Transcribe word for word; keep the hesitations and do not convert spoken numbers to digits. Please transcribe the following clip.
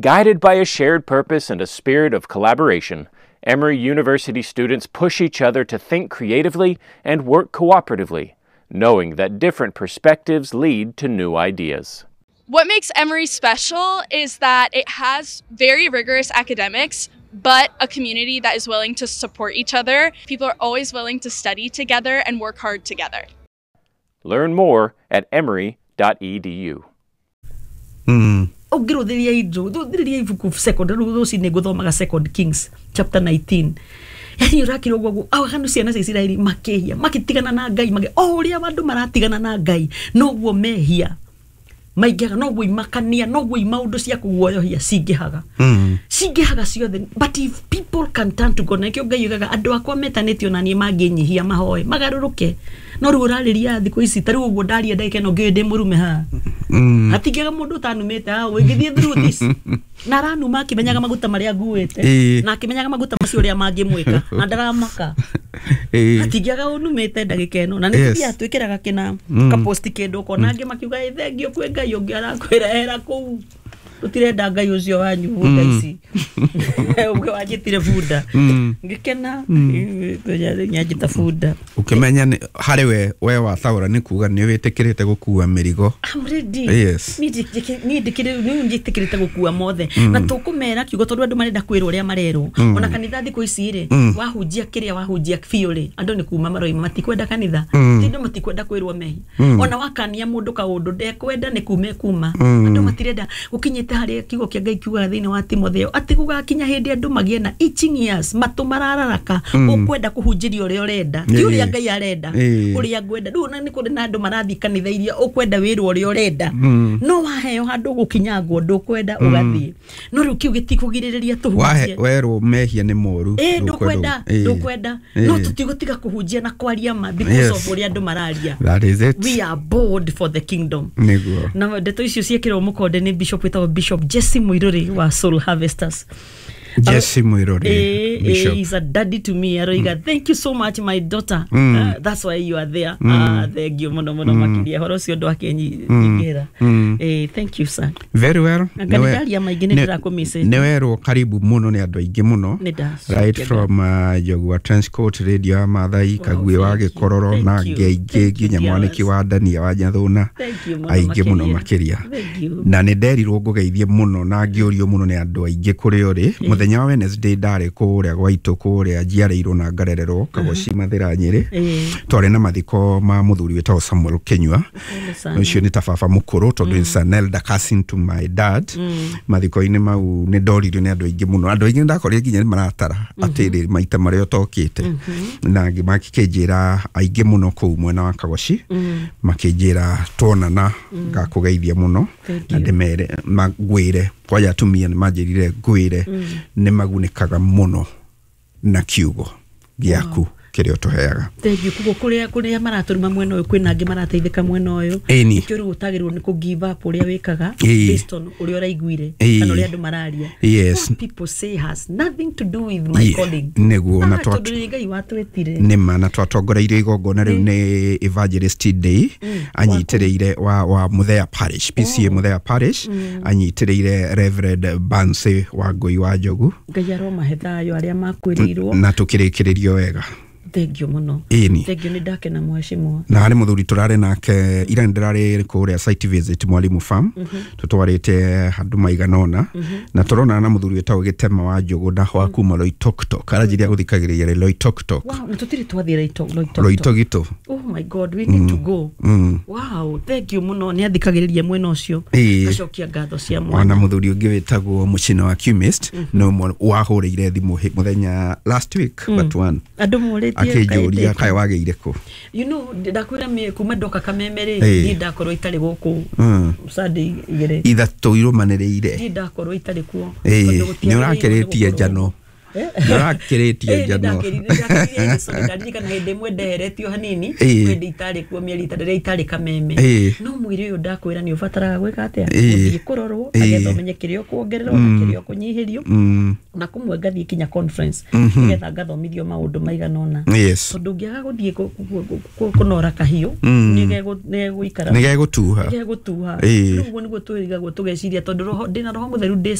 Guided by a shared purpose and a spirit of collaboration, Emory University students push each other to think creatively and work cooperatively, knowing that different perspectives lead to new ideas. What makes Emory special is that it has very rigorous academics, but a community that is willing to support each other. People are always willing to study together and work hard together. Learn more at emory dot e d u. Mm. Ũngĩrũthĩria indo thũthĩrĩria ibuku second rĩu rũcinĩ ngũthomaga Second Kings chapter nineteen. Yani ũrakira ũguo aganu ciana cia Isiraeli makĩhia, makĩtigana na Ngai, magĩ o ũrĩa andũ maratigana na Ngai noguo mehia maingĩhaga, noguo imakania, noguo imaũndũ cia kũguoyohia cingĩhaga, Mm. cingĩhaga ciothe. But if people can turn to God, na nĩkĩo Ngai ugaga andũ akwa metanĩtio na niĩ mangĩnyihia, mahoe, magarũrũke. No rĩu ũrarĩria thikũ ici ta rĩu ũguo ndaria ndagĩka ĩno ngĩũĩ ndĩ mũrume haha, Mm. hatingĩaga mũndũ ũtanumĩte haha ũngĩthiĩ through this na aranuma akĩmenyaga maguta marĩa nguĩte Ĩĩ. na akĩmenyaga maguta macio ũrĩa mangĩmwĩka na ndaramaka. Ĩĩ. Hatingĩaga ũnumĩte ndagĩka ĩno na nĩ Yes. tũthiaga twĩkĩraga kĩna Mm. kaposti kĩndũ ũkona angĩ makiuga, "Ĩ, thengio kwĩ Ngai ũngĩ." Arakwĩra hera kũu, tũtirenda Ngai ũcio wanyu bunda ici. Ũngĩ wanjĩtire bunda, Mm. ngĩkena nyanjĩta bunda. Ũkĩmenya nĩ- harĩ we we wataũra nĩ kuga nĩ wĩtĩkĩrĩte gũkua mĩrigo. I'm ready. Yes. Niĩ njĩkĩ- niĩ ndĩkĩrĩ- niĩ njĩtĩkĩrĩte gũkua mothe na tũkũmera kiugo tondũ andũ marenda kwĩrwo ũrĩa marerwo. Ona kanitha thikũ ici rĩ, wahunjia kĩrĩa wahunjia biũ rĩ, andũ nĩ kuma maroima, matikwenda kanitha. Ti andũ matikwenda kwĩrwo mehia. Ona wakania mũndũ kaũndũ ndekwenda, nĩ kuma ekuma. Andũ matirenda gũkinyĩte harĩa kiugo kĩa Ngai kiugaga thĩinĩ wa Timotheo atĩ gũgakinya hĩndĩ andũ magĩe na itching ears, matũ marararaka, ũkwenda kũhunjĩria ũrĩa ũrenda, ti ũrĩa Ĩĩ. Ngai arenda, Ĩĩ. ũrĩa ngwenda. Rĩu ona nĩ kũrĩ na andũ marathiĩ kanitha iria ũkwenda wĩrwo ũrĩa ũrenda, no waheo handũ gũkinyangwo ndũkwenda, ũgathiĩ. No rĩu kĩu gĩtikũgirĩrĩria Wahe tũhunjie. Werwo mehia nĩ moru, ĩ ndũkwenda, Ĩĩ. ndũkwenda, Ĩĩ. no tũtigũtiga kũhunjia na kwaria ma because Yes. of ũrĩa andũ mararia. That is it. We are bold for the kingdom. Nĩguo. Na ndeto icio ciĩkĩrwo mũkonde nĩ bishop wĩtagwo Bishop Jesse Muiruri wa Soul Harvesters. Jesse Muiruri, Eh, eh, Bishop. He's a daddy to me. Aroiga, "Thank you so much, my daughter." Mm. Uh, that's why you are there. Ah, thank you muno muno makiria horo ũcio ũndũ akenyingĩra. Mm. Eh, thank you, sir. Very well. Anga Nĩwe- nĩ ndaria maingĩ, nĩ nĩ- ndĩrakũmicĩte. nĩ werwo karibu mũno nĩ andũ aingĩ mũno. Nĩ ndacokia. Right from uh, Njogua Trenchcoat Radio ya Mathai Kagui wa Thank you. Gĩkororo Thank na you. angĩ aingĩ, Thank you, nginya mwanĩki dear. wa Ndania wa Nyathũna, Thank you mũno aingĩ mũno makĩria. makĩria. Thank you. Na nĩ nderirwo ngũgeithie mũno na ngĩũrio mũno nĩ andũ aingĩ kũrĩa ũrĩ. Mũthenya wa Wednesday ndarĩ kũrĩa gwaitũ, kũrĩa njiarĩirwo na ngarererwo, Kagoci Mathĩra, Nyĩrĩ. Eh, twarĩ na mathiko ma mũthuri wĩtagwo Samuel Kĩnyua. Pole sana. Ũcio nĩ ta baba mũkũrũ tondũ is an elder cousin to my dad. Mathiko-inĩ mau nĩ ndoririo nĩ andũ aingĩ mũno. Andũ aingĩ ndakorire nginya nĩ maratara atĩrĩ maita marĩa ũtokĩte, na angĩ makĩnjĩra aingĩ mũno kũu mwena wa Kagoci makĩnjĩra tuonana ngakũgeithia mũno. Thank Na you. ndĩmere ngwĩre kwanja atumia nĩ manjĩrire ngwĩre nĩ magunĩkaga mũno na kiugo gĩaku kĩrĩa ũtũheaga. Thank you. Koguo kũrĩa kũrĩa maratũruma mwena ũyũ, kwĩna angĩ marateithĩka mwena ũyũ. Ĩni. Nĩkĩo rĩu ũtagĩrĩirwo nĩ kũ give up ũrĩa wĩkaga Ĩĩ. based on ũrĩa ũraiguire Ĩĩ. kana ũrĩa andũ mararia. Yes. What people say has nothing to do with my Yeah, calling. Nĩguo, na Ah, twa- tondũ nĩ Ngai watwĩtire. Nĩma, na twatongoreirio igongona rĩu nĩ Evangelist Day anyitĩrĩire wa, wa Muthea Parish, P C A Muthea Parish, anyitĩrĩire Reverend Banse wa Ngũi wa Njogu. Ngai aromahe thayũ arĩa makwĩrĩirwo. Na tũkĩrĩkĩrĩrio wega. Thank you mũno. Ĩni. Thank you, nĩ ndakena, mheshimiwa. Na harĩ mũthuri tũrarĩ nake ira, nĩ ndĩrarĩ kũrĩa site visit Mwalimu Farm, tũtwarĩte handũ maigana ũna na tũronana na mũthuri wĩtagwo Gĩtema wa Njũgũ na wa kuma Loitoktok, aranjĩria gũthikagĩrĩria Loitoktok. Wow, na tũtirĩ twathiĩ Loito- Loitoktok. Loitogito. Oh my God, we need to go. Mm. Wow, thank you mũno. Nĩ athikagĩrĩria mwena ũcio. Ĩĩ. Ngacokia ngatho cia Ona mwanya. mũthuri ũngĩ wĩtagwo Mũcina wa Chemist no ũmwe wahũrĩire thimũ hĩ- mũthenya last week but one, Andũ morĩtie akĩnjũria kaĩ kaĩ wagĩire kũ. you know ndakwĩra mĩ- kuma ndoka Kameme rĩ, Ĩĩ. niĩ ndakorwo itarĩ gũkũ Mm. Sunday igĩrĩ. Ithatũ irũmanĩrĩire. Niĩ ndakorwo itarĩ kuo Ĩĩ, tondũ gũtiagĩrĩirwo nĩ ũrakĩrĩtie nĩ gũkorwo. njano. Nĩ ũrakĩrĩtie njano. Ndaririkana hĩndĩ ĩmwe ndeheretio hanini Ĩĩ. hĩndĩ itarĩ kuo mĩeri ĩtatũ rĩrĩa itarĩ Kameme. Ĩĩ. No mwĩrĩ ũyũ ndakwĩra nĩ ũbataraga gwĩka atĩa, Ĩĩ. gũthiĩ kũrorwo Ĩĩ. nĩgetha ũmenye kĩrĩa ũkuongererwo na kĩrĩa ũkũnyihĩrio, Mm. na kũmwe ngathiĩ kinya conference nĩgetha ngathomithio maũndũ maigana ũna, Yes. tondũ ũngĩaga gũthiĩ kũ- kũ- kũ- kũ- kũnora kahiũ Mm. nĩgegũikara, nĩ gegũtuha. nĩgegũtuha. Ĩĩ. Rĩu ũguo nĩguo twĩrigagwo tũgeciria tondũ roho ndĩna roho mũtheru ndĩ.